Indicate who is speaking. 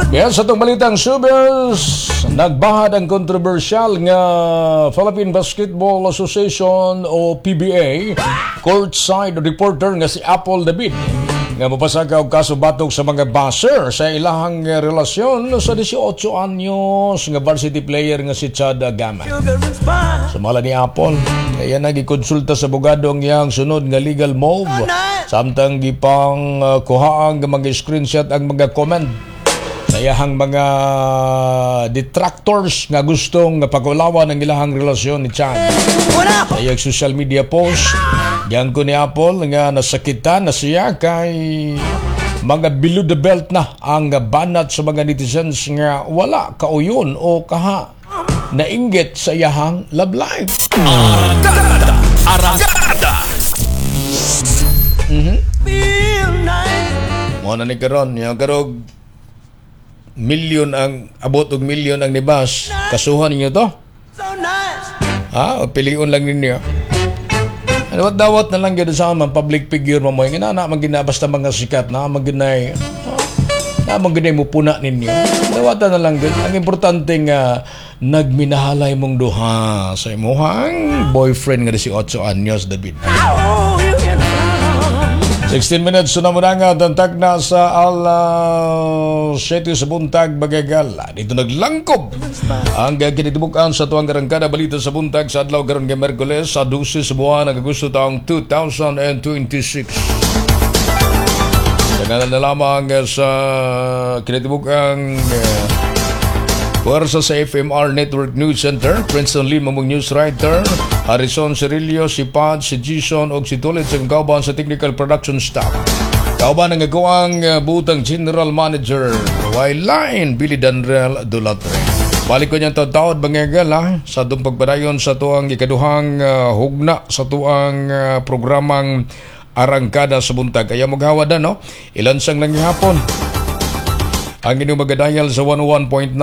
Speaker 1: Kaya sa itong balitang showbiz, nagbahad ang kontrobersyal nga Philippine Basketball Association o PBA courtside reporter nga si Apple David nga mopasaka og kaso batok sa mga basher sa ilahang relasyon sa 18 anyos nga varsity player nga si Chad Gama. Sumala ni Apple, kaya nagikonsulta sa abogado ang iyang sunod nga legal move samtang gipang kuhaang mga screenshot ang mga comment sa iyahang mga detractors nga gustong pagulawan ang ilahang relasyon ni Chad. Sa iyang social media post, giangko ni Apple nga nasakitan na siya kay mga below the belt na ang banat sa mga netizens nga wala kauyon o kaha nainggit sa iyahang love life.
Speaker 2: Arangkada! Arangkada!
Speaker 1: Mo na ni karon, yung karog milyon ang abot og milyon ang nibas. Kasuhan ninyo to. Ha? O piliun lang ninyo. Ano wat dawat na lang gyud sa mga public figure mo mo nga na man gina basta mga sikat na man ginay na man ginay mo puna ninyo. Dawatan na lang gyud. Ang importante nga nagminahalay mong duha sa imuhang boyfriend nga 18 anyos, David. 16 minutes na muna nga tantag na sa alas 7 sa buntag, bagagal. Dito naglangkob ang kinitibukan sa tuwang arangkada balita sa buntag sa adlaw karon nga Miyerkules sa 12 sa buwan ng Agosto taong 2026. Sa ngalan na lamang sa kinatibuk-ang puwersa sa FMR Network News Center, Princeton Lima mong news writer, Harrison Cerillo, si Pad, si Jason og si Tulit sa kauban sa technical production staff. Kauban ang akoang butang general manager, Line Billy Danrel Dulatre. Balik ko niyang taon-taon bangagal ha, sa atong pagpadayon sa tuang ikaduhang hugna sa tuang programang Arangkada sa Buntag. Kaya maghawad no? Ilansang lang hapon ang inyong magadial sa 101.9.